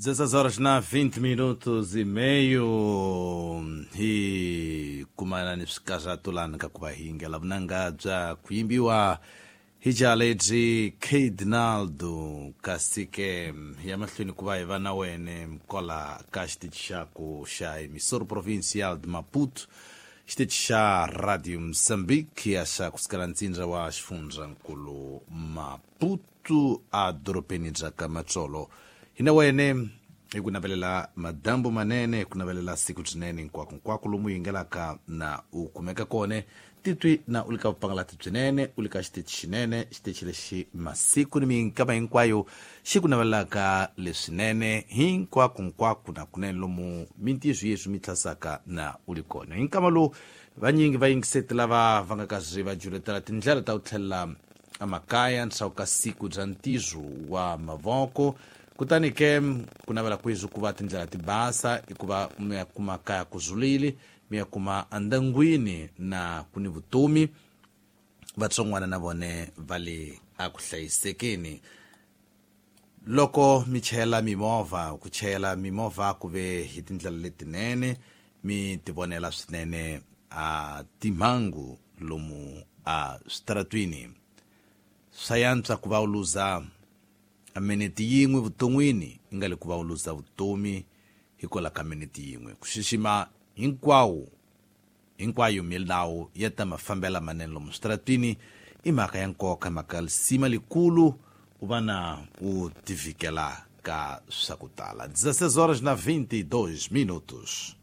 16 horas na 20 minutos e meio hi kumana ni swikazatulani ka ku va hingela vunanga bya ku yimbiwa hi jaha lebyi Cardinaldo, kasi ke ya mahlweni ku va hi va na wene kwala ka xitichi xa ku xa Emissora Provincial de Maputo, xitichi xa Radio Mozambique ya xa kusukela ntsindza wa xifundzankulu Maputo a dorobeni bya ka Matsolo. Hi na wene hi ku navelela madambu manene, hi ku navelela siku byinene hinkwako hinkwako lomu yingelaka na u kumeka kone titwi na u le ka vupangalati byinene, u le ka xitichi xinene, xitichi lexi masiku ni minkama hinkwayo xi ku navelelaka leswinene hinkwako hinkwako na kunene lomu mintizo yeswi mi tlhasaka na u li kona. Hi nkama lowu vanyingi va yingiseti lava va nga kazi va juletela tindlela ta ku tlhelela emakaya ndzhaku ka siku bya ntirho wa mavoko, kutani ke ku navela kwezwi ku va tindlela ti basa i ku va mi ya kuma kaya ku zulile, mi ya kuma andangwini na ku ni vutomi, vatsongwana na vone va le a ku hlayisekeni. Loko mi chayela mimovha, ku chayela mimovha ku ve hi tindlela letinene, mi tivonela swinene a timhangu lomu a switaratwini. Swa yantswa ku va u luza a minete yin'we vuton'wini i nga le ku va u luza vutomi hikwalaho ka minete yin'we. Ku xixima hinkwawo hinkwayo milawu ya ta mafambela manene lomu switaratwini i mhaka ya nkoka, mhaka ya lisima likulu u va na u tivikela ka swa ku tala. 16 horas na 22 minutos.